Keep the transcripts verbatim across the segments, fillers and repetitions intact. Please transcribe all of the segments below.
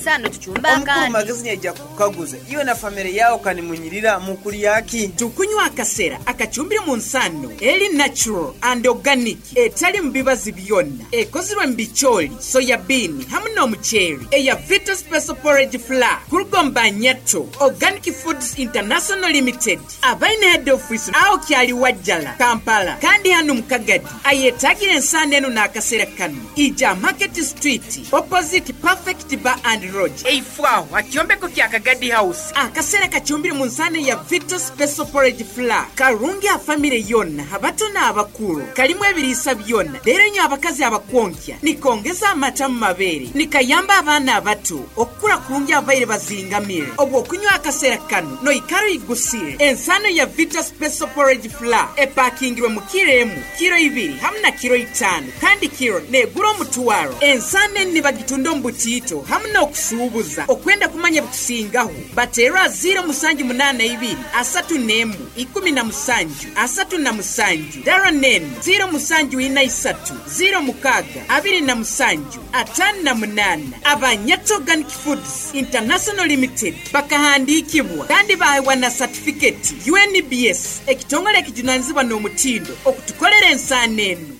ensano tuchumba Omukuru akandi. Magezi nyaija kukaguza iwe na famire yawe kanimunyirira mukulyaki. Tukunywa akasera akachumbire mu nsano eri natural and organic, etali mu bibazi byonna, ekozirwe mu bicholi, soya bean hamu n'omuceeri, eya Vita Special Porridge Flour kuruga Nyato Organic Foods International Limited, abaine head office aho kyali Wajjala, Kampala, kandi hano mu Kagadi. Ayetagira ensano eno n'akasera kano ija Market Street opposite Perfect Bar and Lodge, eifwaho akyombeko kya Kagadi House. Akasera kachumbire mu nsano ya Vita Special Porridge Flour karungi a famire yonna, abato n'abakulu, kalimu ebiriisa byonna. Leero nyo abakazi abakwonkya nikongeza amata mu mabeere, nikayamba abaana abato okukula kurungi abaire bazingamire. Obwo okunywa akasera kano noikaro igusire. Ensano ya Vita Special Porridge Flour epakingirwe mu kiro emu, kiro ibiri hamu na kiro itaano, kandi kiro negura omutwaro. Ensano eni nibagitunda omu butiito hamu n'okusuubuza. Okwenda kumanya bikusingaho bateerwa ziro musanju munaana ibiri asatu n'emu ikumi na musanju asatu na musanju, dara nenu ziro musanju ina isatu ziro mukaaga abiri na musanju ataano na munaana. Abanyato Organic Foods International Limited bakahandiikibwa kandi baheebwa na certificate U N B S, ekitongole ekijunanizibwa n'omutindo okutukolera ensaano eno.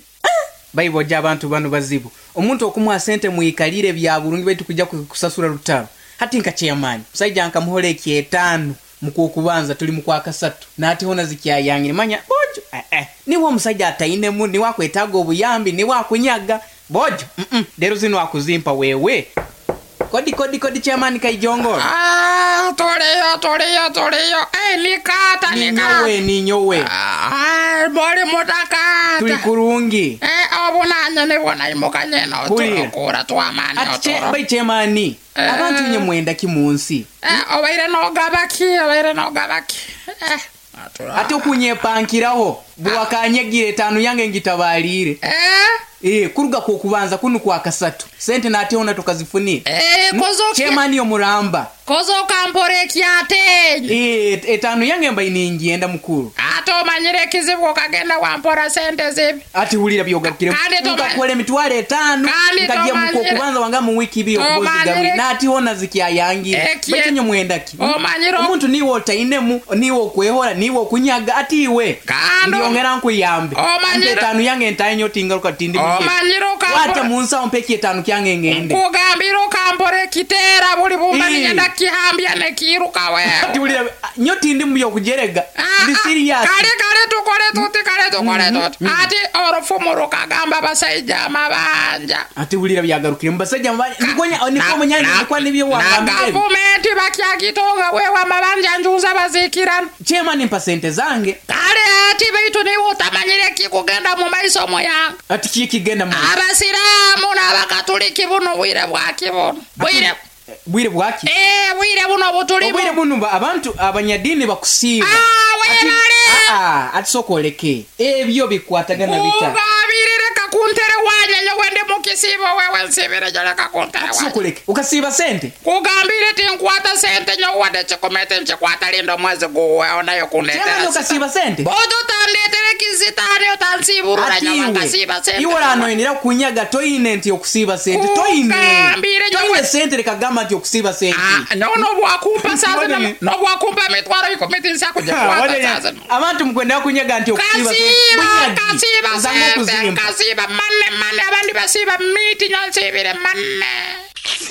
Baiboja abantu bano bazibu. Omuntu okumuha sente muikalire bya burungi baitu kujja kusasura rutaro. Hati nka chairman, musajja nkamuhole ekyetaano mu kubanza tuli mu kwa kasatu. Nati hona zikyayangire manya bojo. Eh eh. Niwo omusajja atainemu, niwe akwetaaga obuyambi, niwe akunyaga. Bojo. Mm -mm. Lero zino akuzimpa wewe. Kodi kodi kodi chairman Kaijongoro. Ah, toleyo toleyo toleyo. Eh, nikata nikata. Ninyowe ninyowe. Ah, bali mutakata. Tuli kurungi. Eh, obunanya ne bona imukanye no turokora twamani otoro. Bai chairman. Eh, abantu nye mwenda kimunsi. Eh, obaire no gabaki, obaire no gabaki. Eh. Ate okunyepankiraho bwakanyegire tano yange ngitabalire. Eh? Eh, kuruga ku kubanza kunu kwa kasatu. Sente na ate ona tukazifunie. Eh, kozo chairman yo muramba. Kozo kampore kyate. Eh, etano yange mba iningienda mukuru. Ate omanyire kizibu kagenda wampora sente zibi. Ati hulira byogarukire. Ngakwele mitwale etano. Ngagiye muko kubanza wanga mu wiki biyo kuzigaruri. Na ati ona zikyayangira. Baitu nyo mwenda ki? Omanyire omuntu niwe otainemu, niwe okwehora, niwe okunyaga ati iwe. Ndiongera nkuyambe. Omanyire etano yange ntainyo tingaruka tindi. Omanyire wata munsa ompeki etano kyange ngende. Nkugambira okampore kitera buli bumba nigenda kihambya nekiruka wewe. Ati hulira nyo tindi mu byokujerega. Ndi serious. Kale kale tukole tuti kale tukole tuti. Ati orufumu rukagamba abasajja amabanja. Ati hulira byagarukire mbasajja amabanja. Nikonya nikomunyanya nikwa nibyo wagambye. Na gavumenti bakyagitonga wewe amabanja njuza bazikirana. Chairman mpa sente zange. Kale ati baitu niwe utamanyire kikugenda mu maiso moyanga. Ati kikigenda mu. Abasiramu n'abakatuliki buno bwire bwaki buno. Bwire bwire bwaki? Eh, bwire buno butulimu. Bwire buno abantu abanyadini bakusiiba. Ah, webale. Ah, ati sokoleke. Ebyo bikwatagana bita. Ugabirire kakuntere wanya nyowe ndi mukisibo wewe nsibire jole kakuntere wanya. Sokoleke. Ukasiiba sente? Kugambire tinkwata sente nyowe wadde chikomete nchikwata lindo mwezi guwe onayo kundetera. Chema ukasiiba sente? Bodo tandetere kizitani otansiburura nyowe nkasiiba sente. Iwe ranoinira kunyaga toine nti okusiiba sente. Toine. Kugambire nyowe. Toine sente rekagamba nti okusiiba sente. Ah, no no bwakumpa saze no no bwakumpa mitwaro ikumi tinsakujikwata saze. Abantu mukwenda kunyaga nti okusiiba sente. Kasiiba sente. Kasiiba manne manne abandi basiiba miti nyansibire manne.